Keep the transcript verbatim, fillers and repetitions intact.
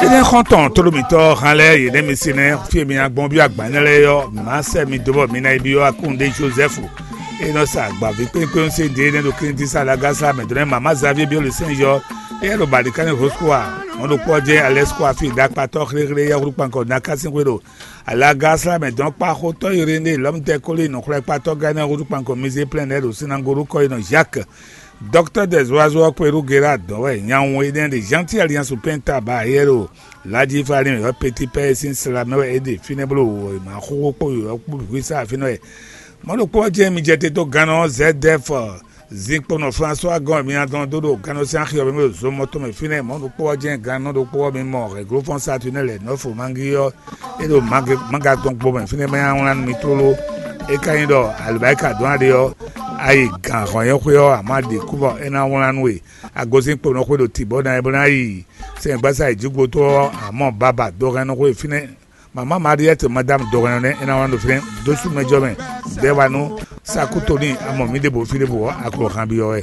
Énɛ́ xɔ́ntɔn tlóló mǐtɔn hán lɛ́ɛ yě nɛ́ mi se nɛ́ fí e mi ná gbɔn byɔ́ agban énɛ́ lɛ́ɛ ɔ́, mǐ má sɛ́ mi dó bɔ mi ná yi byɔ́ Akúnɖé Jozɛ́fu e nɔ sa agbaví kpékpé se ɖě nɛ́ ɖo Klíntí sa Lagásla mɛ dó nɛ́ Mamá Zavíe byɔ́ le sɛ́n yɔ éyɛ́ ɖo Balikánì Hoskua. Mɔ̌ ɖokpó ɔ́ jɛ́n Alɛ́skua fí ɖakpatɔ́ xléxlé yɛ́húlú kpankɔ Naká sín xwé ɖo Alagásla mɛ dɔn kpá xótɔ́ Irénée lɔ̌mutɛ́ Kóli nɔxwlɛ́kpatɔ́ gán énɛ́ húzú kpankɔ Mizé plɛ́n lɛ́ɛ ɖo sinagolu kɔ́yinɔ Zhak. Dɔktɔ́ Dɛzwazɔ ɔ́ kpé ɖó Gerard dɔn wɛ nyanwun énɛ́ ɖe Jean Thierry Liansu Penta ba yɛ ɖo Laji Ifalim yɔ Peti Pɛ́ sín sla mɛ wɛ é ɖe fínɛ́ bló wǒ e ma xóxó kpó yǒyɔ kpó hwísá fínɛ́ wɛ. Mɔ̌ ɖokpó ɔ́ jɛ́n mi jɛ te dó gannɔ Zɛdɛ́f zinkpɔ́nɔ Flasuwa gɔ́n e mi ná dɔn dó ɖo gannɔ sín axi ɔ́ mɛ ɖo zomɔ tɔn mɛ fínɛ́. Mɔ̌ ɖokpó ɔ́ jɛ́n gannɔ ɖokpó ɔ́ mi mɔ Hɛglófɔ́n Satunɛ́ lɛ̌nɔ́fu Mangí ɔ́ é ɖo mangagblɔ́gbó mɛ fínɛ́ ma nylá nú mi tlóló. É ka nyí ɖɔ alǒbáyíka dɔn aɖe ɔ́, a yi gǎn hɔn nyi xwé ɔ́, a ma ɖi kú bɔ é ná wlán nú we. A gosín kponɔ xwé ɖo tǐ bɔ ná bó ná yi sɛngbásá yi jǐgbo tó ɔ́, a mɔ baba dɔhɛnnɔ xwé fínɛ́. Mamá Mariɛ́ti Madámu dɔhɛnnɔ nɛ́ é ná wlán ɖo fínɛ́ dó sú mɛjɔ mɛ. Dɛ́ wa nú Sakútoni a mɔ mǐ ɖěbǔ fí ɖěbǔ ɔ́, a ko han byɔ́ wɛ.